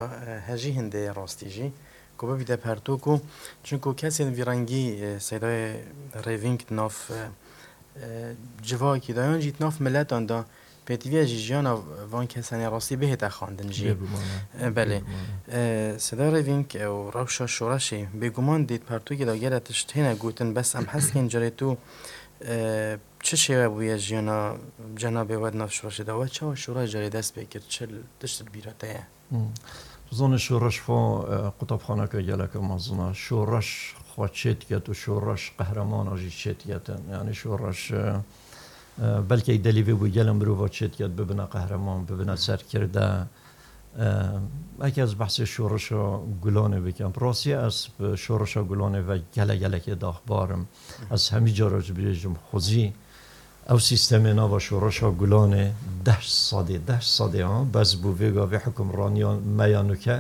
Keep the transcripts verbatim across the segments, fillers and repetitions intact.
e, hejî hindê rastî jî ku bibîte pertûk û çunku kesên vî rengî, e, Seydayê Rêvîng di nav, e, e, civakî de yan jî di nav miletan de pêtivî ye jî jiyana van kesanê rastî bihête xwendin jî. Bêguman e. E, belê. Bêguman e. E, Seydayê Rêvîng, e, û rewşa şoreşê bêguman dît pertûkê de gelek tişt hêne gotin, bes em hez dikin carê tu, e, çi şêwe bûye jiyana cenabê we di nav şoreşê de? We çawa şoreş carê dest pê kir? Çi tişt li bîra te ye? Hmm. Tu zanî şoreş xwe, e, qutabxaneke geleke mezin e. Şoreş xwe çêdiket û şoreş qehreman a jî çêdiketin. Yanî şoreş, e, e, belkî delî vê bû gelê mirova çêdiket, bibine qehreman, bibine serkirde. E, eke ez behsê şoreşa Gulanê bikim. Rastî ez bi şoreşa Gulanê ve gele gelekê daxbar im. Ez hemî cara jî bêjim xwezî ew sîstemê nava şoreşa Gulanê deh sedê, deh sedê ha, bes bû vê gavê hukimraniya me ya nûke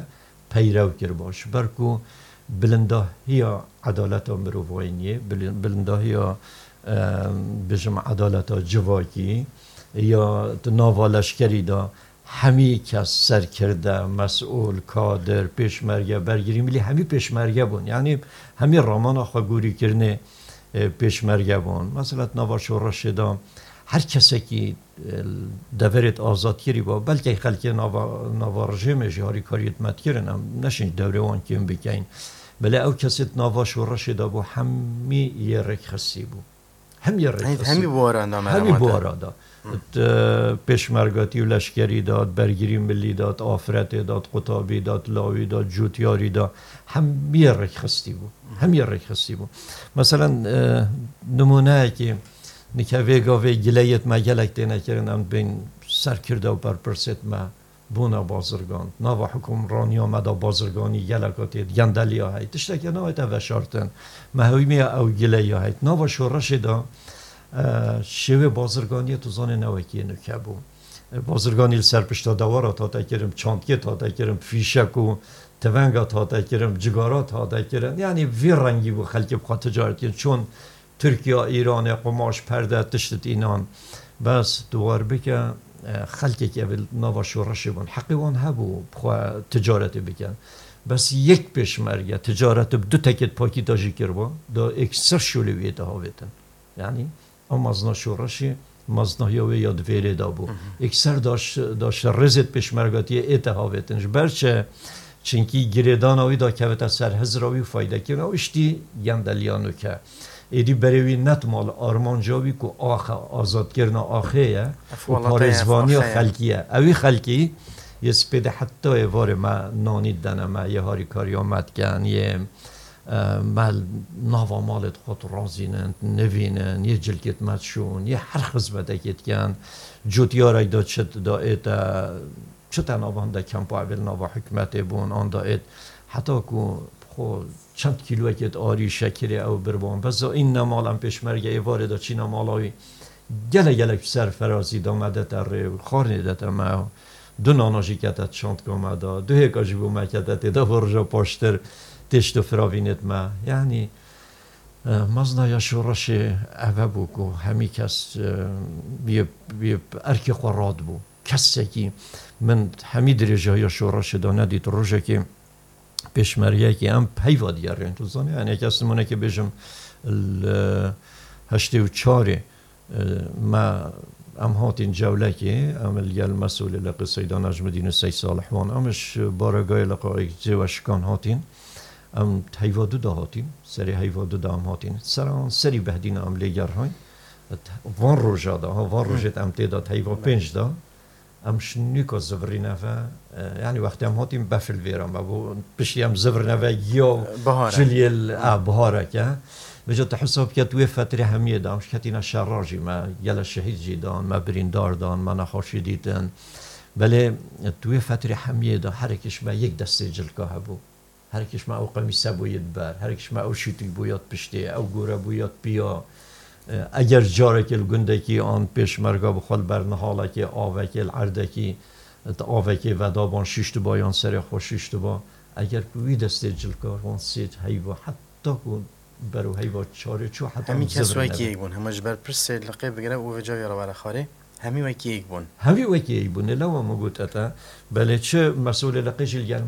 peyrew kiriba. Ji ber ku bilindahiya edaleta mirovayîniyê, bilin-, bilindahiya, e, bêjim edaleta civakî ya di nava leşkerî de hemî kes serkirde, mesûl, kadir, pêşmerge, bergirî milî hemî pêşmerge bûn. Yanî hemî ramana xwegorîkirinê, e, pêşmerge bûn. Mesela di nava şoreşê de her kesekî, e, deverê azadkirî ba, belkî xelkê nava, nava rejîmê jî harîkariyê me dikirin, em neşin dewrê wan kêm bikeyin. Belê ew kesê di nava şoreşê de bû, hemî yê rêkxistî bû. Hemî yê rêkxistî. Hemî buwaran da. Hemî buwara da. Di pêşmergatî û leşkerî de, di bergirî milî de, di afretê de, di qutabî de, di lawî de, di cotyarî de, hemî yê rêkxistî bû. Hemî yê rêkxistî bû. Meselen, e, nimûneyekî, nike vê gavê gileyêt me gelek têne kirin, em bên serkirde û berpirsêt me bûna bazirgan. Nava hukimraniya me de bazirganî geleka tê, gendeliya heyt. Tiştekê nayête veşartin. Me hewîmiya ew gileya heyt. Nava şoreşê de, e, şêwê bazirganiyê tu zanê ne wekî nûke bû. E, bazirganî li ser pişta dewara tate kirin, çantikê tate kirin, fîşek û tivenga tate kirin, cigara tate kirin. Yanî vî rengî bû xelkê bi xwe ticaret kirin. Çon Tirkiye, Îranê, qumaş, perde, tişt înan. Bes tu war bike, e, xelkek ev nava şoreşê bûn. Heqê wan hebû bi xwe ticaretê bikin. Bes yek pêşmerge ticaretê bi du tekêt pakîta jî kiriba, da êkser şolê wî ête havêtin. Yanî, ew mezna şoreşê, meznahiya wê ya di vêrê de bû. Êkser da şi-, da şirêzêt pêşmergatiyê ête havêtin. Ji ber çi? Çinkî girêdana wî da kevite ser hizra wî û fayde kirina wî ştî gendeliya nûke. Êdî berê wî netma li armanca wî ku axe, azadkirina axê ye û parêzvaniya xelkî ye. Ewî xelkî yê spêdê heta êvarê me nanî didene me, yê harîkariya me dikin, yê, e, me nava malê xwe tu razînin, nivînin, yê cilkêt me dişûn, yê her xizmetekê dikin. Cotyarek da çi da ête, çi te nava hinde kempa evê li nava hikûmetê bûn, an da êt, heta ku xwe çend kîloyekê arî şekirê ew birban. Bes îne mal em pêşmerge êvarê de çîne mala wî. Gelek gelek serferazî da me dete rê û xwarinê dete me. Du nana jî kete çantka me da. Du hêka jî bo me kete tê de bo rija paştir têşt û firavînêt me. Yanî, e, mezna ya şoreşê eve bû ku hemî kes, e, yê, yê erkê xwe radibû. Kesekî min hemî dirêjahiya şoreşê de nedît rojekê pêşmergeyekê em peyva digerên. Tu zanî, yanî kes nimûnekê bêjim li heştê û çarê, e, me, em hatîn Cewlekê, em li gel mesûlê Leqê Seyda Necmidîn û Sey Salih wan, em ji baragayê Leqê Cêwe Şikan hatîn. Em heyva du de hatîn, serê heyva du de em hatîn. Sera wan serî Behdîna em lê gerhayn. Van roja de, ha, van rojê em tê de heyva pênc de. Em şinîka zivirîne ve, e, yanî wextê em hatîn befil vêra me bû. Piştî em zivirîne ve giya ciliyê li, a, bihareke. Vêca tu hesab ke tu wê fetrê hemiyê de, em ji ketîne şerra jî me, gele şehîd jî dan, me birîndar dan, me nexweşî dîtin. Belê tu wê fetrê hemiyê de herekî ji me yek destê cilka hebû. Herekî ji me ew qemîse bûyî di ber, herekî ji me ew şîtî bûya di piştê, ew gore bûya di piya. E, eger carekê li gundekî an pêşmerga bi xwe li ber nihalekê, avekê, li erdekî, di avekê vedaban şiştiba yan serê xwe şiştiba, eger ku wî destê cilkar wan sê heyva heta ku ber û heyva çarê çû heta. Hemî kes wekî yek bûn, hema ji ber pirsê Leqê bigire û vêca wê re were xwarê. Hemî wekî yek bûn. Hemî wekî yek bûn. Lê lewa min got ete. Belê çi mesûlê Leqê jî li gel me